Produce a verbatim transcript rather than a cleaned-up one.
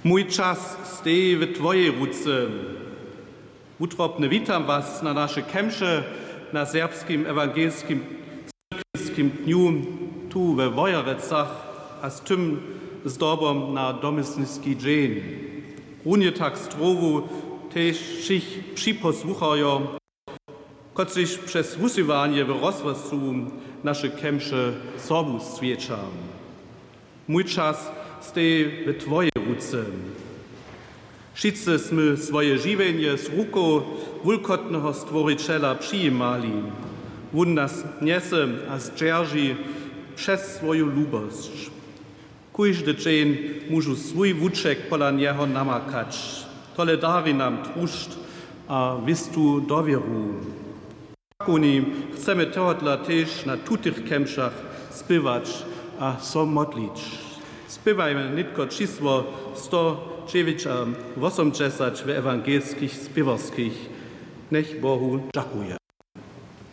Mój čas steji w twojej ruce. Wutrobnje witam was na naše kemše na serbskim ewangelskim cyrkwinskim dnju tu we Wojerecach a z tym zdobom na domysniski dźeń. Runje tak strowu tež wšěch připosłucharjo, kotřiž přez wusyłanje w rozhłosu naše kemše sobu swjeća. Mój čas steji w twojej ruce. Wšitcy smy swoje žiwjenje z rukow wulkotneho Stworićela přijimali. Wón nas njese a zdźerži přez swoju lubosć. Kóždy dźeń móžu swój wuček pola njeho namakać. Tole dari nam trušć a wěstu dowěru. Takowni chcemy tohodla tež na tutych kemšach spěwać a so modlić. Spěwajmy nětko čisło sto dźewjeć a wosomdźesać w ewangelskich spěwarskich. Njech Bohu dźakuje.